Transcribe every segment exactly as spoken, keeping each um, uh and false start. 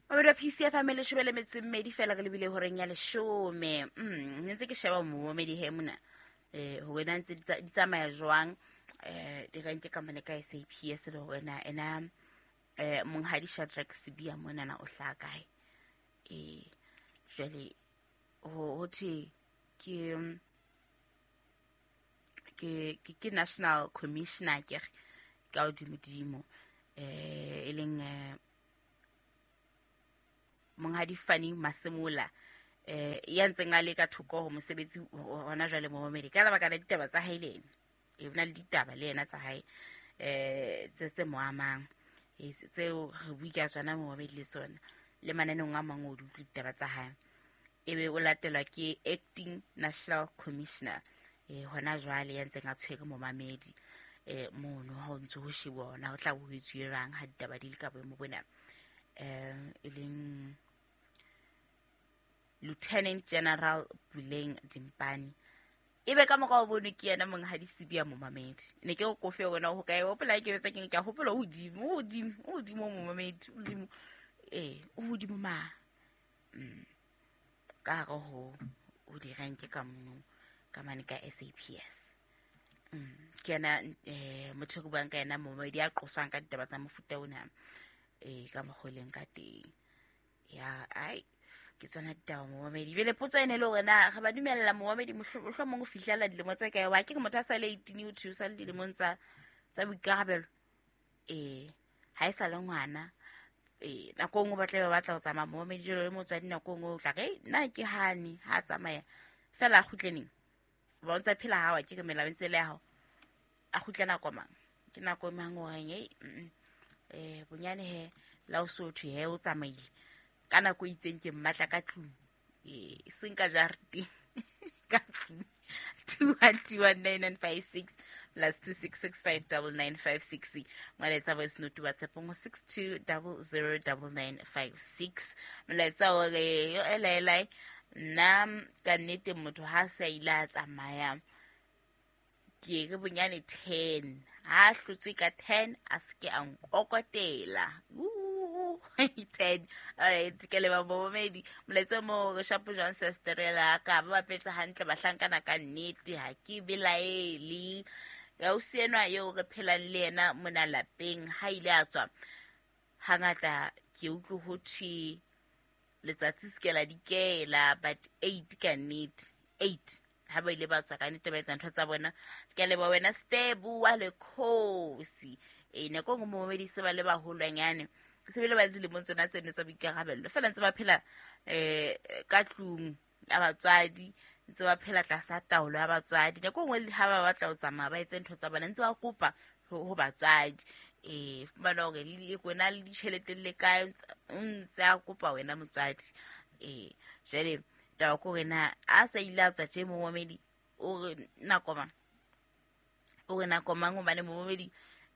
Mamedi wa P C F M leshome le metso e mmedi fela re lebile horeng ya leshome. Mm, ne ntse ke sheba momamedi he mona. Eh hore na ntse di tsamaya jwang eh direnke ka mane ka S A P S le hore na ena eh monghadi Shadrack Sibiya mona na o hlaha kae. Eh jwale ho thwe ke ke ke National Commissioner ke ka hodimodimo eh e leng monghadi Fannie Masemola eh ya ntseng a le ka thoko ho mosebetsi hona jwale momamedi ka lebaka la ditaba tsa hae le ena e bona le ditaba le yena tsa hae eh tse tse mo amang e tseo re bua ka tsona momamedi le sona le mananeng a mang o di utlwe ditaba tsa hae ebe o latelwa ke acting national commissioner eh hona jwale ya ntseng a tshwere momamedi eh mono ha o ntse ho shebwa ona ho tla bo ho etsuwe jwang ha ditaba di le ka boemo bona eh e leng Lieutenant General Puleng Dimpane ebe ka morao bono ke yena monghadi Sibiya momamedi ne ke go kofe wena ho kae hopola ke betsa ke ke hopola hodimo hodimo hodimo momamedi hodimo eh hodimo ma mm ka hare ho ho direnke ka mono ka mane ka S A P S mm ke yena eh motho go buang ka yena momamedi ya qoswang ka ditaba tsa mofuta ona eh ka mogoleng ka teng ya ai ke tsona ditaba momamedi bele potso ene le hore na re ba dumella momamedi mohlomong ho fihlela dilemo tse kae wa ke re motho a sa le eighteen o thusa le dilemong tsa tsa boikarabelo eh ha e sa le ngwana eh nako nngwe ba tla ba batla ho tsamaya momamedi jalo le motswadi nako nngwe o tla re nna ke hane ha tsamaya fela a kgutleneng ba o ntsa phela ha wa ke re melao e ntse le ya hao a kgutle nako mang ke nako mang o reng eh eh bonyane he la o sotho he o tsamaile ka nako e itseng ke mmatla ka tlung eh seng ka jareteng ka tlung two one two one nine nine five six plus two six six five nine nine five six molaetsa voice note WhatsApp ngo six two zero zero nine nine five six molaetsa o re yo ela nna ka nnete motho ha sa ile a tsamaya ke re bonyane ten ha hlotswe ka ten a se ke a nkokotela ten all right ke le ba momedi molaetsa mo re shapo John Sesterela ka ba bapetsa hantle bahlankana ka nnete ha ke belaele ya o senwa eo re phelang le yena mona lapeng ha ile a tswa hangata ke utlwe ho thwe letsatsi se ke la dikela but eight ka nnete eight ha ba ile ba tswa ka nnete ba etsa ntho tsa bona ke le ba wena Stebu wa le khosi e nako nngwe momedi se ba le baholwanyane se bile ba le dilemong tsona tseno tsa boikarabello fela ntse ba phela eh ka tlung ya batswadi ntse ba phela tlasa taolo ya batswadi nako nngwe le ha ba batla ho tsamaya ba etse ntho tsa bona ntse ba kopa ho batswadi eh fumana hore le kona le ditjhelete le kae ntse a kopa wena motswadi eh jwale taba ko rena a sa ile a tswa tje momamedi o re nako mang o re nako mang hobane momamedi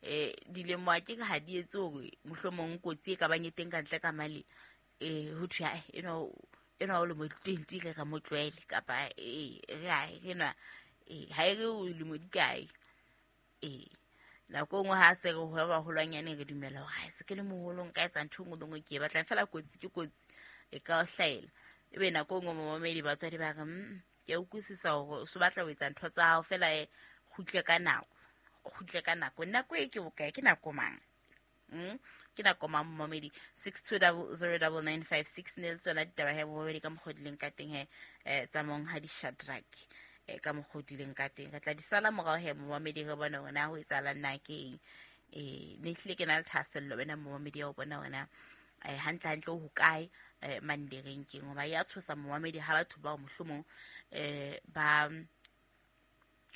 eh dilemo a ke ha di etse hore mohlomong kotsi e ka bang e teng ka ntle ka mali eh ho thwe eno eno o le mo twenty re ka mo tlwaele kapa eh re a re nwa eh ha e re o le mo dikae eh nako nngwe ha se re ho ba holwanyane re dumela hore ha se ke le moholo nka etsa ntho nngwe le nngwe ke e batlang fela kotsi ke kotsi e ka o hlaela ebe nako nngwe momamedi batswadi ba re ke a utlwisisa hore o so batla ho etsa ntho tsa hao fela e kgutle ka nako kgutle ka nako nako e ke bokae ke nako mang mm ke nako mang momamedi six two zero zero nine nine five six ne le tsona ditaba he momamedi ka mokgwa dileng ka teng he eh tsa monghadi Shadrack eh ka mokgwa dileng ka teng re tla di sala morao he momamedi re bone hore na ho etsahalang na ke eng eh ne hlile ke na le thahasello wena momamedi ya ho bona hore na eh hantle hantle ho kae eh mandereng keng hoba ya tshosa momamedi ha batho bao mohlomong eh ba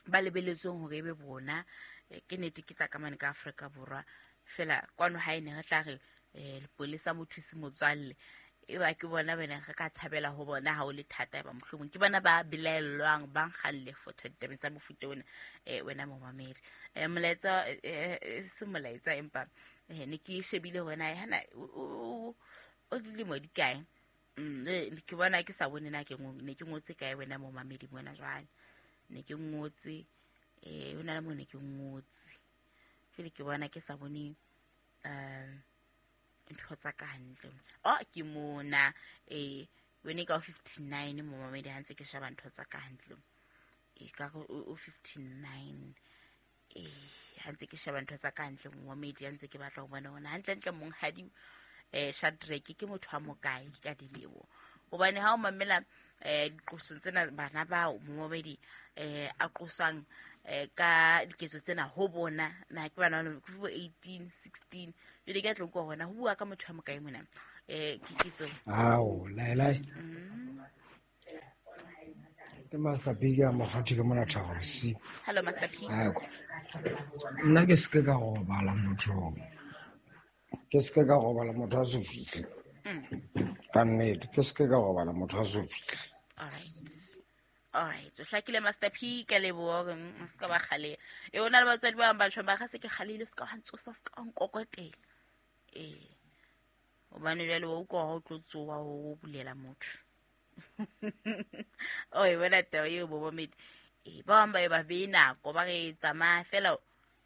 ba lebeletsweng hore ebe bona ke nete ke tsa ka mane ka Afrika Borwa fela kwano ha ene re tla re eh lepolesa mothusi motswalle e ba ke bona bene re ka tshabela ho bona ha o le thata ba mohlomong ke bona ba belaellwang ba nkgalle for ditabeng tsa mofuta ona eh wena momamedi eh molaetsa se molaetsa empa eh ne ke shebile hore na hana o dilemo di kae mm ke bona ke sa bone na ke ne ke ngotse kae wena momamedi mona jwale ne ke ngotse eh hona le mo ne ke ngotse fele ke bona ke sa bone um ntho dintho tsa ka hantle. Oh ke mona eh wene ka fifty-nine momamedi ha ntse ke sheba ntho tsa ka hantle. E ka o fifty-nine eh ha ntse ke sheba ntho tsa ka hantle momamedi ha ntse ke batla ho bona hona hantle ntle monghadi eh Shadrack ke motho wa mokae ka dilemo. Hobane ha o mamela eh diqosong tsena bana bao momamedi eh a qoswang eh ka diketso tsena ho bona na ke bana ba bo eighteen sixteen jwale ke tlo go hona ho bua ka motho wa mokae mona eh ke kitso ao lai lai ke Master P ka mokgathi ke mona Thabo. Hello Master P. Nna ke se ka robala motho ke se ka robala motho a so fihle ka nnete ke se ka robala motho a so fihle. All right. All right, o hlakile Master P ka leboha o ska ba kgale. E ona le batswadi ba bang ba tjho ba ga se ke kgalile se ka wa ntsosa se ka nkokotela. Eh. Hobane jwale o utlwa ho tlo tsoa ho bulela motho. O e bona taba eo momamedi. Eh ba bang ba e ba be nako ba re tsamaya fela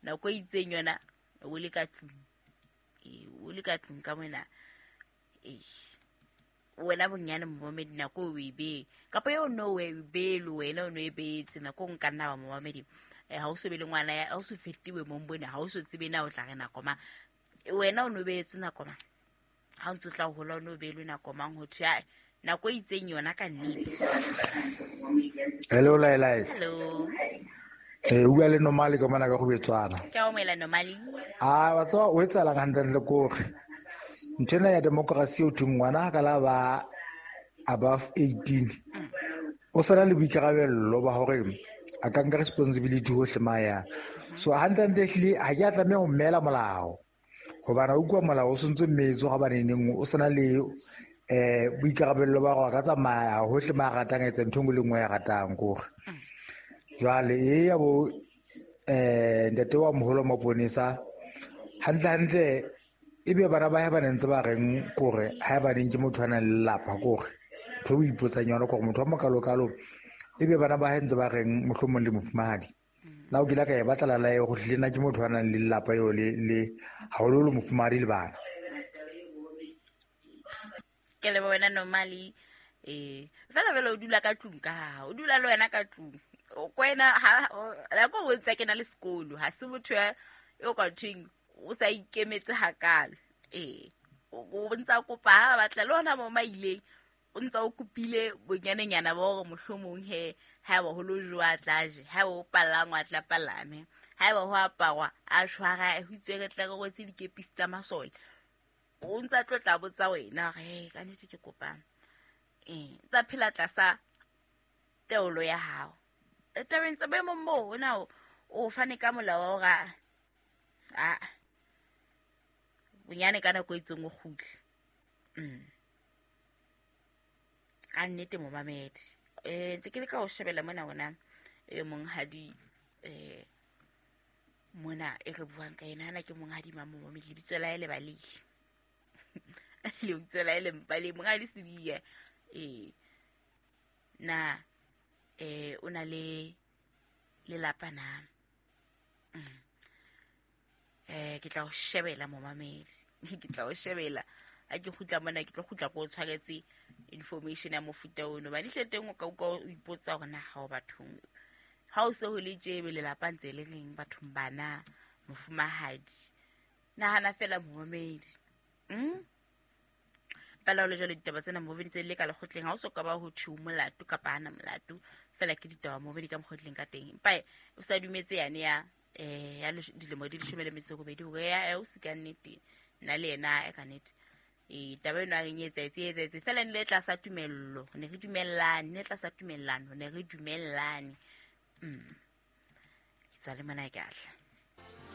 nako e itseng yona o le ka tlung. Eh o le ka tlung ka mona. Eh wena bonyane momamedi nako o e be kapa yo no we be le wena o no e beetse nako nka nna ba momamedi eh ha o so be le ngwana ya ha o so fetiwe mo mbone ha o so tsebe na o tla re nako ma wena o no beetse nako ma ha o ntse tla hola o no be le nako mang ho thwe nako e itseng yona ka nnete. Hello Laila. Hello. Eh o bua le Nomali ka mona ka go betswana. Ke o moela Nomali. Ah wa tswa o etsalang hantle le kore ntena ya democracy o thung ngwana ka la ba above eighteen o sala le boikarabello ba hore a ka nka responsibility hohle maya so hantle hantle ha ke a tlameha ho mmela molao hobane o utlwa molao o sentse mmetso ga baneneng o sena le eh boikarabello ba hore a ka tsamaya hohle ma ratang etsa ntho engwe le nngwe ya ratang kore jwale e ya bo eh ntate wa moholo maponesa hantle hantle ebe bana ba ha ba ntse ba reng kore ha ba neng ke motho a nang le lelapa kore ntho o ipotsang yona kore motho wa mokalokalo ebe bana ba ha ntse ba reng mohlomong le mofumahadi nna o kile ka e batla la go hlile nna ke motho a nang le lelapa eo le le haholo le mofumahadi le bana. Ke le wena Nomali eh fela fela o dula ka tlung ka ha o dula le wena ka tlung o kwena ha la go botsa ke na le sekolo ha se motho ya o ka thweng o sa ikemetse hakalo eh o ntsa kopa ha batla le hona mo maileng o ntsa o kopile bonyanenyana ba hore mohlomong he ha ba holo jwa tlaje ha o palangwa tla palame ha ba ho aparwa a shwara ho itswe re tla re rwetse dikepisi tsa masole o ntsa tlo tla botsa wena re ka nnete ke kopang eh tsa phela tlasa taolo ya hao tabeng tsa boemong bo ona o fane ka molao wa hore a bonyane ka nako e itseng o kgutle. Mm. Ka nnete momamedi eh ntse ke le ka o shebela mona hona e monghadi eh mona e re buang ka yena hana ke monghadi Mamomedi lebitso la hae le balehi lebitso la hae le mpale monghadi Sibiya eh na eh o na le lelapa na mm. eh ke tla o shebela momamedi ke tla o shebela ha ke kgutla mona ke tlo kgutla ko tshwaretse information ya mofuta ono ba dihle teng o ka o ipotsa hore na ha o bathong ha o se ho le tjebe lelapa ntse le reng bathong bana mofumahadi nahana fela momamedi mm pela le jalo ditaba tsena momamedi tse le ka lekgotleng ha o so ka ba ho tjhu molato kapa ana molato fela ke ditaba momamedi ka mokgotleng ka teng empa o sa dumetse yane ya eh ya dilemo di leshome le metso e robedi hore ya o se ka nnete nna le yena e ka nnete e taba eno a re etsa etsa etsa fela ne le tlasa tumello ne re dumellane ne tlasa tumellano ne re dumellane mm ke tswa le mona ke ahla.